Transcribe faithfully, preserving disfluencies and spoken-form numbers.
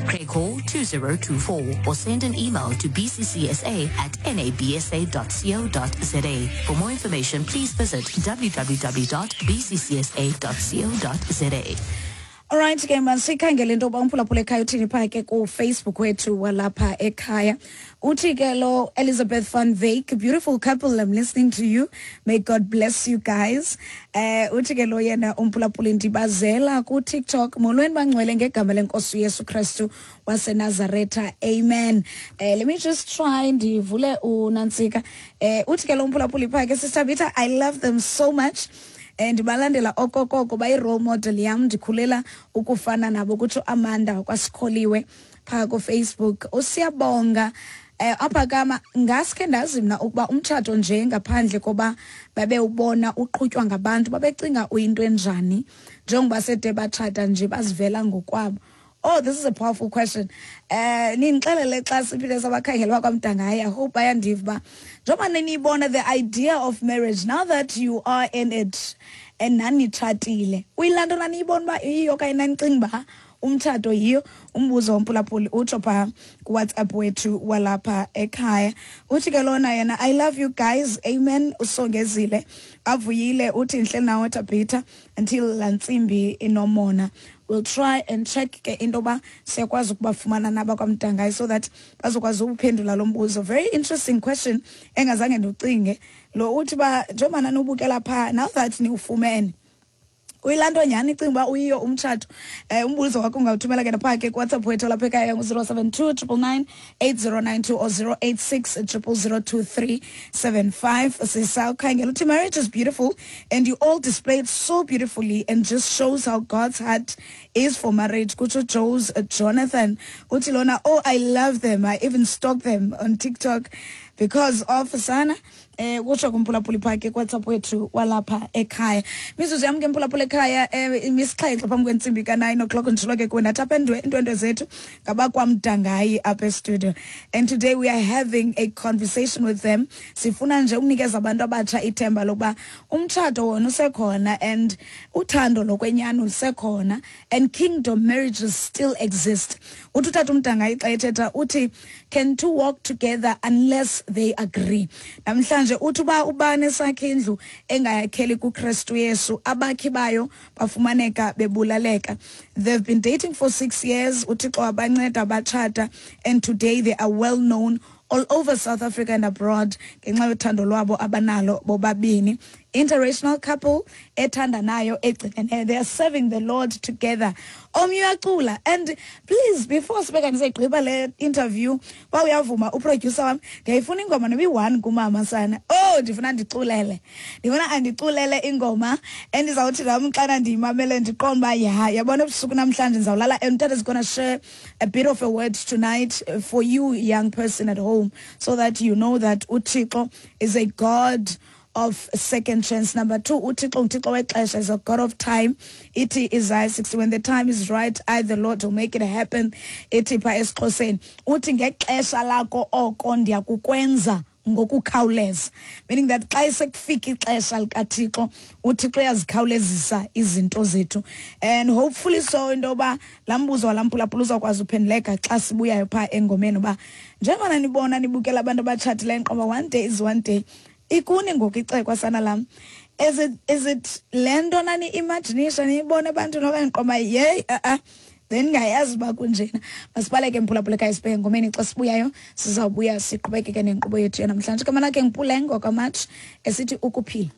Craighall two zero two four, or send an email to b c c s a at n a b s a dot co dot z a. For more information, please visit w w w dot b c c s a dot co dot z a. Alright ke masikhangele into yoba umphulaphula ekhaya uthini phaa ke kuFacebook wethu walapha ekhaya. Uthi ke lo Elizabeth van Wyk, beautiful couple, I'm listening to you. May God bless you guys. Eh uthi ke lo yena umphulaphuli ndibazela kuTikTok. Molweni bangcwele ngegama lenkosi uYesu Kristu waseNazaretha. Amen. Eh let me just try ndivule unantsika. Eh uthi ke lo umphulaphuli phaa ke, Sister Bita, I love them so much. And balandela okokoko bayi-role model yam, ndikhulela ukufana nabo, kutsho Amanda kwasikholiwe phaa kuFacebook. Usiyabonga eh apha kama ngaske ndazi mna ukuba umtshato nje ngaphandle koba babewubona uqhutywa ngabantu babecinga uyinto enjani, njengoba sede batshata nje bazivela ngokwabo. Oh, this is a powerful question. Eh nindixelele xa siphinde sabakhangela bakwaMdangayi. I hope bayandiva uba njengoba niniyibona the idea of marriage now that you are in it and nanitshatile, uyilaa nto naniyibona uba iyiyo okanye nanicinga uba umtshato yiyo? Umbuzo womphulaphuli utsho phaa kuWhatsApp wethu walapha ekhaya. Uthi ke lona yena, I love you guys, amen. Usongezile avuyile uthi nhle nawe Tabitha until laa ntsimbi inomona. We'll try and check ke into yoba siyakwazi ukubafumana naba kwaMdangayi so that bazokwazi ukuphendula lo mbuzo. Very interesting question engazange ndiwucinge lo. Uthi uba njengoba nanubukela phaa, now that niwufumene, uyilaa nto nyhani icinga uba uyiyo umtshato? um umbuzo wakho ungawuthumela ke naphaa ke kuWhatsApp wethu lapha ekhaya ngu-zero seven two triple nine eight zero nine two or zero eight six triple zero two three seven five. Sisawukhangela. Uthi marriage is beautiful and you all display it so beautifully and just shows how God's heart is for marriage, kutsho Jose Jonathan. Uthi lona, oh, I love them, I even stalk them on TikTok because of sana. Eh kutsho kumphulaphuli phaa ke kuWhatsApp wethu walapha ekhaya. Mizuzu yam ke mphulaphula ekhaya eh imisixhenxe phambi kwentsimbi ka-nine o'clock. Nditshilo ke kuwe ndathi apha iindwendwe zethu ngabakwaMdangayi apha estudio, and today we are having a conversation with them. Sifuna nje ukunikeza abantu abatsha ithemba lokuba umtshato wona usekhona and uthando lokwenyani lusekhona and kingdom marriages still exist. Uthi utata uMdangayi xa ethetha uthi, can two walk together unless they agree? Namhlanje uthi uba ubani esakhe indlu engayakheli kuKristu Yesu, abakhi bayo bafumaneka bebulaleka. They've been dating for six years, uThixo wabanceda batshata, and today they are well known all over South Africa and abroad ngenxa yothando lwabo abanalo bobabini. Interracial couple ethandanayo egcineneyo, they are serving the Lord together. Omnye uyacula. And please, before sibeka ndisayigqiba le interview, uba uyavuma uproducer wam, ndiyayifuna ingoma noba iyi-one kumama sana. Oh, ndifuna ndiculele, ndifuna andiculele ingoma endizawuthi nam xana ndiyimamele ndiqonde uba ya yabona ebusuku namhlanje ndizawulala. And utata is gonna share a bit of a word tonight for you, young person at home, so that you know that uThixo is a God of second chance. Number two, uThixo nguThixo wexesha, is a God of time. Ithi Isaiah sixty, when the time is right, I the Lord will make it happen. Ithi pha esiXhoseni, uthi ngexesha lakho oko ndiyakukwenza ngokukhawuleza, meaning that xa sekufika ixesha likaThixo, uThixo uyazikhawulezisa izinto zethu. And hopefully so into yoba laa mbuzo walamphulaphula uzawukwazi uphenduleka xa sibuyayo phaa engomeni, uba njengoba nibona nibukela abantu abatshatileyo nqoba one day is one day, ikuni ngoku icekwa sana lam. Is it, is it le nto nani-imaginisha niyibona ebantwini okanye nqoba yeyi a-a then ngayazi uba kunjena? Masibaleke mphulaphula ekhaya sibheke engomeni. Xa sibuyayo sizawubuya siqhubekeke nenkqubo yethu yanamhlanje. Igama lakhe nguPuleng wakwaMatsh esithi ukuphila.